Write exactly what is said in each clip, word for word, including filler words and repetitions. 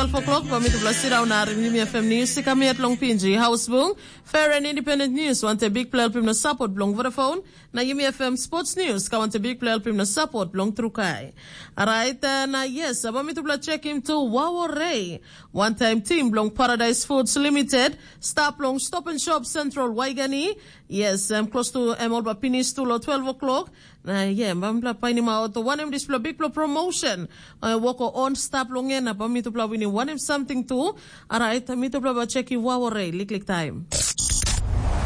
Four o'clock, bai mitupela sindaun na harim Yumi F M News i kam yet long P N G Hausbung. Fair and independent news, wante big player pim na support bilong Vodafone. Na Yumi F M Sports News, ka wante big player pim na support bilong Trukai. Alright, uh, na yes, bai mitupela check him to Wawo Rei. One time team bilong Paradise Foods Limited, stap long Stop and Shop Central Waigani. Yes, um, close to um, all but finish to lo twelve o'clock. Na yeah, bai mitupela painim out wanem dispela bikpela promotion. Uh, wok on stap long en, na bai mitupela winim wanem something tu. Alright, mitupela ba check i Wawo Rei, liklik time.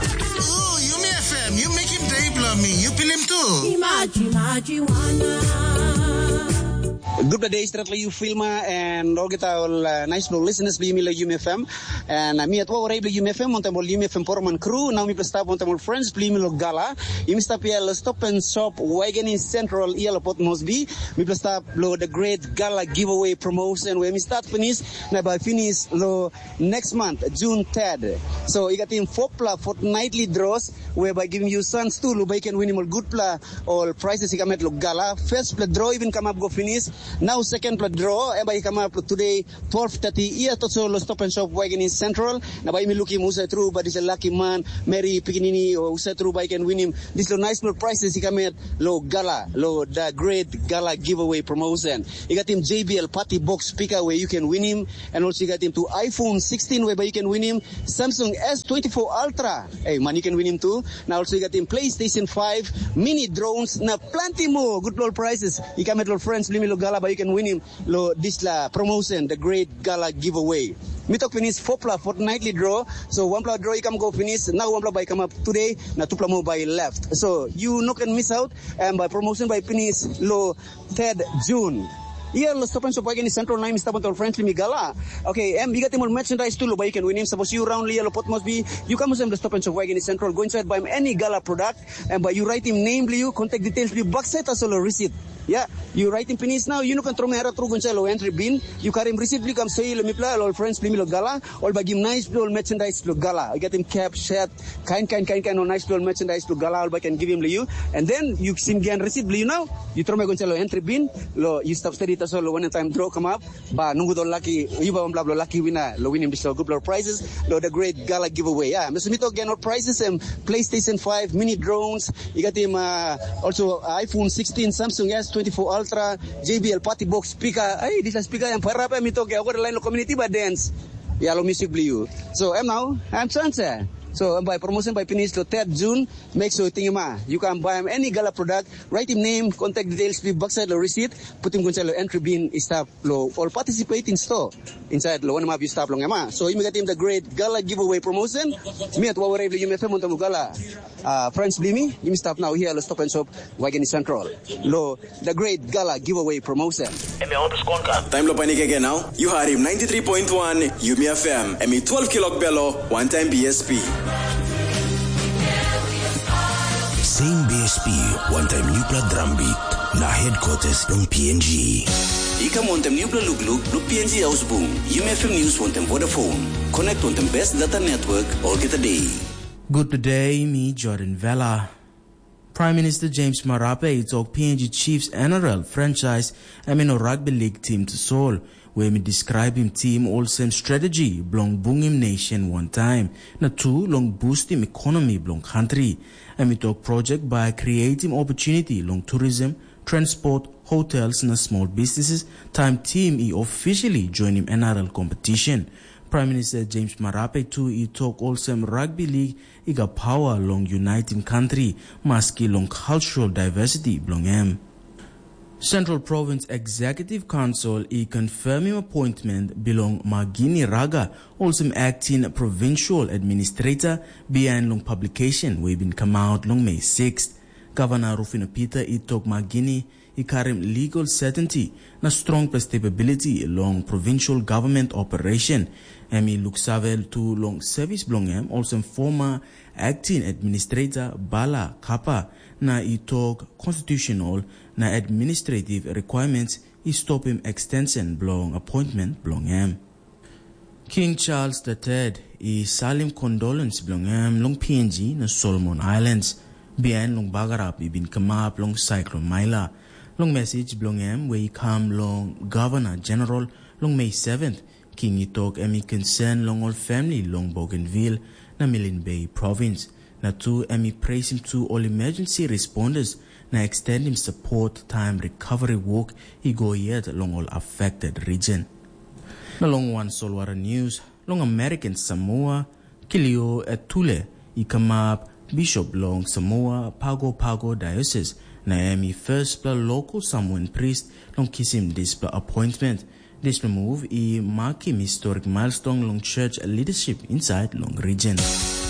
Ooh, Yumi F M, you making day blow me. You feel him too. Imaji, imaji wana. Good day, stretla you filma and olgeta ol uh, nice little listeners bi yumi lo Yumi F M. And uh, mi at Wawo Rei bi Yumi F M, on time ol Yumi F M Poroman crew. Now mi stop on time ol friends bi yumi lo Gala. Yumi stop here lo Stop and Shop Wagon in Central here lo Port Moresby. Mi stop lo the great Gala giveaway promotion where mi start finish. Now by finish lo next month, June third. So you got him four fortnightly draws whereby giving you chance to lo by you can win him a good pla or prizes i come at lo Gala. First pla draw even come up go finish. Now second pla draw, eba i come up today twelve thirty ia tot so lo Stop and Shop Wagon in Central. Na bai mi lukim usa tru, but is a lucky man, Mary Pikinini or usa tru bai can win him. This lo nice lo prizes i come at lo Gala, lo the great Gala giveaway promotion. You got him J B L party box speaker where you can win him, and also you got him to iPhone sixteen whereby you can win him, Samsung S twenty-four Ultra. Hey man, you can win him too. Now also you got him PlayStation five, mini drones, na plenty more good little prizes. You come at little friends, Limi Lugala, but you can win him lo disla promotion, the great gala giveaway. Mi tok finish four pla fortnightly draw. So one pla draw you come go finish. Now one pla by come up today. Na two pla more by left. So you no can miss out. And by promotion by finish lo third June. Ia lo Stop and Shop Wagon Central na mi stap on friendly mi gala. Okay, em you got him all merchandise too lo by you can win him. Suppose you round li lo Port Moresby, you come usem the Stop and Shop Wagon Central, go inside buy him any gala product and by you write him name li you, contact details li backside as well receipt. Yeah, you write him finish now, you no can throw me era through go inside lo entry bin. You carry him receipt li come say lo mi pla lo friends li mi lo gala, all by give nice lo merchandise lo gala. You get him cap, shirt, kain kain kain kain o nice lo merchandise lo gala all by can give him lo you. And then you sim gen receipt lo you now. You throw me go inside lo entry bin, lo you stop steady tasol lo when time draw come up. Ba nunggu do lucky, you ba bla bla lucky winner lo win him this good lo prizes lo the great gala giveaway. Yeah, Mister Mito again all prizes and PlayStation five, mini drones. You got him uh, also iPhone sixteen, Samsung S twenty-four Ultra, J B L party box speaker. Hey, this is speaker yang parap eh Mito ke aku line lo community ba dance. Ya lo music beli you. So em now, I'm chance. So em by promotion by finish to third June. Make sure you think ma, you can buy him any gala product. Write him name, contact details, be backside lo receipt. Put him go inside lo entry bin, stop lo all participating store. Inside lo one of you stop long ema. So you get him the great gala giveaway promotion. Me at Wawa Revli, you may film on gala. Uh, friends, believe me, you stop now here. Let's stop and shop. Wagon Central. Lo, the great gala giveaway promotion. Em ya oto skon ka. Time lo panik again now. You heard him ninety-three point one Yumi F M. Em i twelve kilok belo, one time B S P. Same B S P, one time nuclear drum beat. Na headquarters long P N G. I kam wantaim nupela lukluk long P N G Hausbung, Yumi F M News wantaim Vodafone. Connect wantaim best data network olgeta day. Good day, mi Jordan Vela. Prime Minister James Marape i tok P N G Chiefs N R L franchise em i no rugby league team tasol, where mi describe him team olsem strategy bilong bungim nation one time, na tu long boostim economy bilong country. Em i tok project by creating opportunity long tourism, transport, hotels na small businesses, time team i officially joinim N R L competition. Prime Minister James Marape tu i tok olsem rugby league i gat power long uniting country, maski long cultural diversity bilong em. Central Province Executive Council i confirmim appointment bilong Magini Raga olsem acting provincial administrator behind long publication we bin come out long May sixth. Governor Rufino Peter i tok Magini i karim legal certainty na strongpela stability long provincial government operation. Em i luksave tu long service bilong em olsem former acting administrator Bala Kapa, na i tok constitutional na administrative requirements i stopim extension bilong appointment bilong em. King Charles the Third i salim condolence bilong em long P N G na Solomon Islands, bihain long bagarap i bin kamap long Cyclone Maila. Long message bilong em we i kam long Governor General long May seventh, King i tok em i konsen long ol famili long Bougainville na Milne Bay Province. Na tu em i presim tu ol emergency responders na extendim support taim recovery work i go yet long ol affected region. Na long wan solwara news, long American Samoa, Kilio Etule i kamap bishop long Samoa Pago Pago Diocese, na em i firstpela local Samoan priest long kisim dispela appointment. Dispela move i makim historic milestone long church leadership inside long region.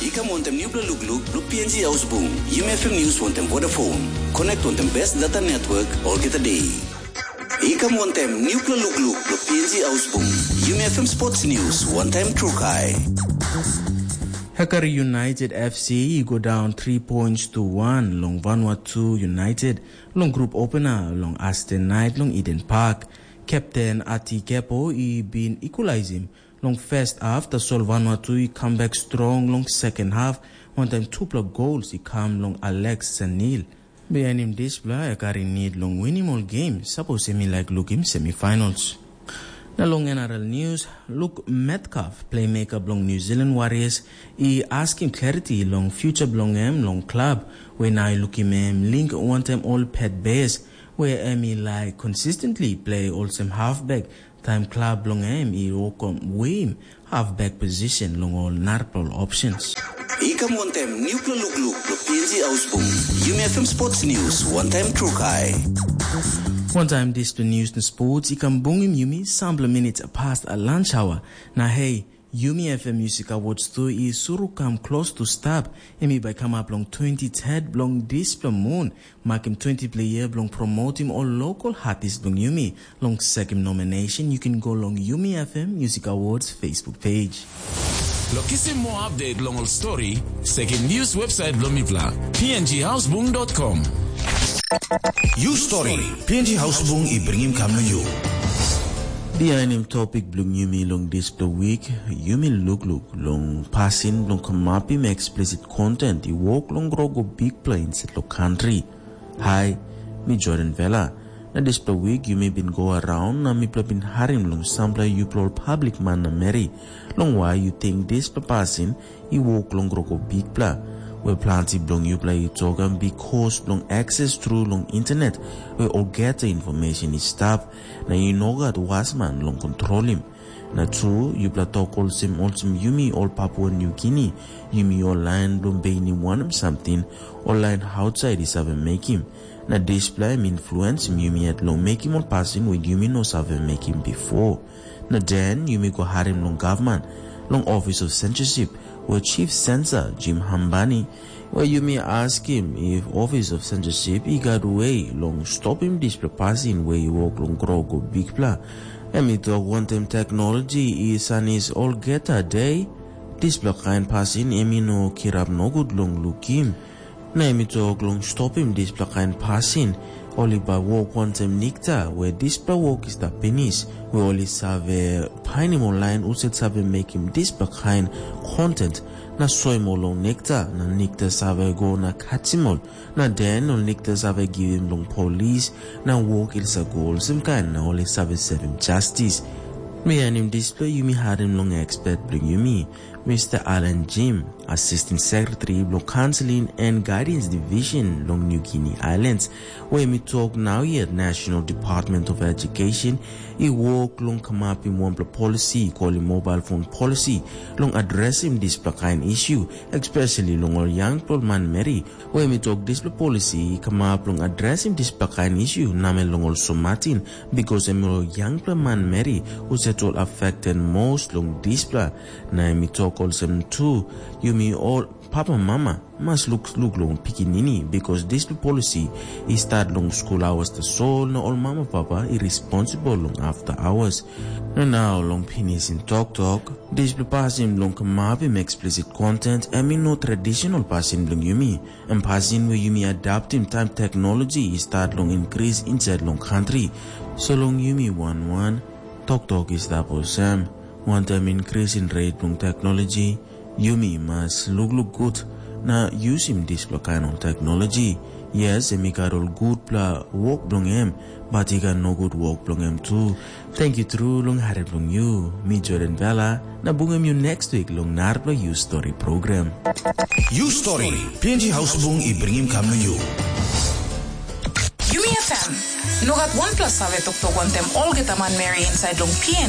I kam wantem nupela lukluk long P N G Haus Bung, Yumi F M News wantem Vodafone. Connect wantem best data network olgeta day. I kam wantem nupela lukluk long P N G Haus Bung, Yumi F M Sports News, wantaim Trukai. Hekari United F C i go down three points to one long Vanuatu United long group opener long Aste Night long Eden Park. Captain Ati Kepo i bin equalizim long first half, tasol Vanuatu i comeback strong long second half, wantaim tupela goals i kam long Alex Sanil. Bihainim dispela, Hekari need long winim ol game, sapos em i laik lukim semifinals. Na long N R L news, Luke Metcalf, playmaker bilong New Zealand Warriors, i askim clarity long future bilong em long klab, we na i lukim em link wantaim ol pet bears, we em i laik consistently play olsem halfback, taim klab bilong em i wokim wim halfback position long ol narapela options. I kam wantem nupela lukluk long P N G Haus Bung, Yumi F M Sports News, wantaim Trukai. Wantaim dispela news na sports i kam bungim yumi sampela minit past a lunch hour. Na hei, Yumi F M Music Awards tu i suru kam close to stap. Em i bai kamap long twenty-third bilong dispela mun, makim twenty pela year bilong promotim ol local artist bilong yumi. Long sekim nomination, you can go long Yumi F M Music Awards Facebook page. Long kisim moa update long ol stori, sekim news website bilong mipela, P N G Houseboom dot com. You story, P N G Houseboom i bringim kam na you. Bihainim topik bilong yumi long dispela wik, yumi lukluk long pasin bilong kamapim explicit content i wok long gro go bikpela insait long kantri. Hai, mi Jordan Vela. Na dispela wik yumi bin go araun na mipela bin harim long sampela yupela ol publik man na meri, long wai yu ting dispela pasin i wok long gro go bikpela, we planti bilong yupela i tok em bikos bilong akses tru long internet, we olgeta infomesen i stap, na i no gat wasman long kontrolim. Na tru, yupela tok olsem, olsem yumi ol Papua Niu Gini, yumi ol lain bilong beinim wanem samting ol lain ausait i save mekim. Na dispela em influensim yumi yet long mekim ol pasin we yumi no save mekim bipo. Na den yumi go harim long gavman, long Office of Censorship, we Chief Censor Jim Hambani, we yumi askim if Office of Censorship i gat we long stopim dispela pasin we i wok long gro go bikpela. Em i tok, wantem teknologi i sanis olgeta de, dispela kain pasin em i no kirap nogut long lukim. Na em i tok long stopim dispela kain pasin, ol i bai wok wantaim nikta, we dispela wok i stap pinis, we ol i save painim ol lain husat save mekim dispela kain kontent, na soim ol long nikta, na nikta save go na katim ol, na den ol nikta save givim long polis, na wok i save go olsem kain, na ol i save sevim jastis. Bihainim dispela yumi harim long ekspet bilong yumi, Mista Alan Jim, Asistan Sekretari bilong Kanseling en Gaidens Division long Niu Gini Ailens, we em i tok nau yet National Department of Education i wok long kamapim wanpela polisi i kolim mobile phone policy long adresim dispela kain isu, especially long ol yangpela manmeri, we em i tok dispela polisi i kamap long adresim dispela kain isu namel long ol sumatin, bikos em ol yangpela manmeri husat ol affected most long dispela. Na em i tok olsem tu, yumi ol papa mama mas lukluk long pikinini, bikos dispela polisi i stat long skul awas tasol, na ol mama papa i responsible long afta awas. Na nau long pinisim toktok, dispela pasin bilong kamapim explicit content em i no traditional pasin bilong yumi. Em pasin we yumi adaptim taim teknologi i stat long inkris insait long kantri. So long yumi wan wan, toktok i stap olsem, wantaim inkris in reit bilong teknologi, yumi mas lukluk gut na yusim dispela kain ol teknologi. Yes, em i gat ol gutpela wok bilong em, bat i gat nogut wok bilong em tu. Tenkyu tru long harim bilong yu. Mi Jordan Bella, na bungim yu next week long narapela yu stori program. Yu stori, P N G Hausbung i bringim kam long yu. Yumi F M, no gat wanpela save toktok wantem olgeta manmeri insait long P N G.